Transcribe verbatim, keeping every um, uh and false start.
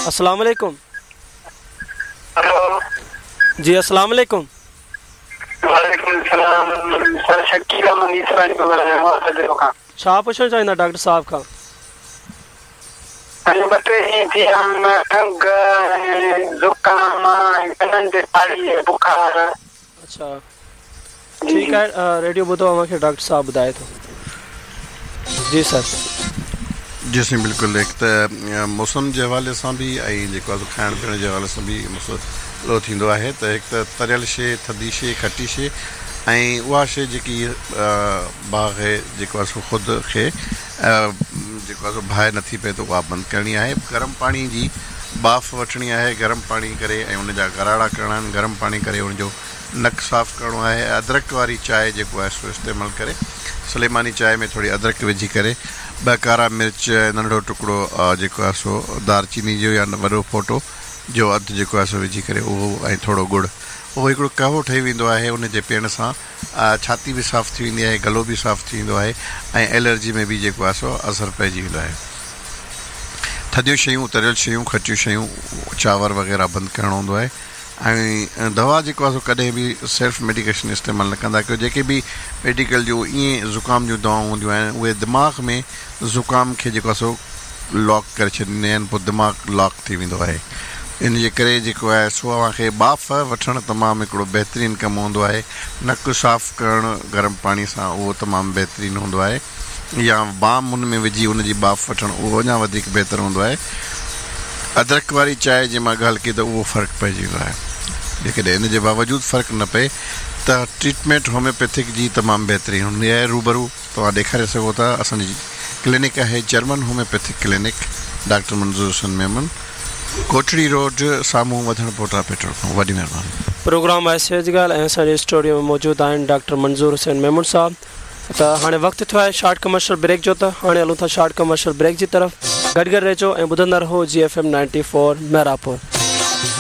अस्सलाम वालेकुम। हेलो। जी अस्सलाम वालेकुम। वालेकुम सलाम सर, शकील अहमद ईसरानी थो ॻाल्हायां सदरो खां। छा पुछणु चाहींदा डॉक्टर साहब खां? हाणे ॿ टे ॾींहं थी विया आहिनि, खंघ ऐं ज़ुकाम ऐं कननि ते साड़ी ऐं बुखार। अच्छा ठीकु आहे, रेडियो ॿुधो, अव्हांखे डॉक्टर साहब ॿुधाए थो। जी सर। जी साईं बिल्कुलु, हिकु त मौसम जे हवाले सां बि ऐं जेको आहे खाइण पीअण जे हवाले सां बि मसइलो थींदो आहे। त हिकु त तरियल शइ, थधी शइ, खटी शइ ऐं उहा शइ जेकी भाउ खे जेको आहे सो ख़ुदि खे जेको आहे सो बाहि नथी पए त उहा बंदि करणी आहे। गरम पाणी जी ॿाफ़ वठणी आहे, गरम पाणी करे ऐं उनजा गराड़ा करणा आहिनि, गरम पाणी करे उनजो नक साफ़ करिणो आहे। अदरक वारी चांहि जेको आहे सो इस्तेमालु करे, सुलेमानी चांहि में थोरी अदरक विझी करे ॿ कारा मिर्च, नंढो टुकड़ो जेको आहे सो दालचीनी जो या वॾो फोटो जो अधु जेको आहे सो विझी करे उहो ऐं थोरो गुड़, उहो हिकिड़ो कहवो ठही वेंदो आहे। उनजे पीअण सां छाती बि साफ़ थी वेंदी आहे, गलो बि साफ़ थी वेंदो आहे ऐं एलर्जी में बि जेको आहे सो असरु पइजी वेंदो आहे। थधियूं शयूं, तरियल शयूं, खटियूं शयूं, चांवर वग़ैरह बंदि करिणो हूंदो आहे। ऐं दवा जेको आहे सो कॾहिं बि सेल्फ मेडिकेशन इस्तेमालु न कंदा कयो। जेके बि मेडिकल जूं ईअं ज़ुकाम जूं दवाऊं हूंदियूं आहिनि उहे दिमाग़ में ज़ुकाम खे जेको आहे सो लॉक करे छॾींदियूं आहिनि, पोइ दिमाग़ लॉक थी वेंदो आहे। इन जे करे जेको आहे सो अव्हांखे ॿाफ़ वठणु तमामु हिकिड़ो बहितरीनु कमु हूंदो आहे। नक साफ़ करणु गरम पाणी सां उहो तमामु बहितरीनु हूंदो आहे, या बाम उन में विझी उनजी ॿाफ़ वठणु उहो अञा वधीक बहितरु हूंदो आहे। अदरक वारी चांहि जे मां ॻाल्हि कई त उहो फ़र्क़ु पइजी वेंदो आहे। जेकॾहिं इन जे बावजूदि फ़र्क़ु न पए त ट्रीटमेंट होम्योपैथिक जी तमामु बहितरीनु हूंदी आहे। रूबरू तव्हां ॾेखारे सघो था। असांजी क्लिनिक आहे German homeopathic clinic, doctor Manzoor Hussain Memon, Kotri road, साम्हूं वधण पोटा पेट्रोल पंप। वॾी महिरबानी। प्रोग्राम आहे सेहत जी ॻाल्हि ऐं असांजे स्टूडियो में मौजूदु आहिनि डॉक्टर मंज़ूर हुसैन मेमन साहब। त हाणे वक़्तु थियो आहे शॉर्ट कमर्शियल ब्रेक जो, त हाणे हलूं था शॉर्ट कमर्शियल ब्रेक जी तरफ़। गॾु गॾु रहिजो ऐं ॿुधंदा रहो G F M ninety four Mehrapur.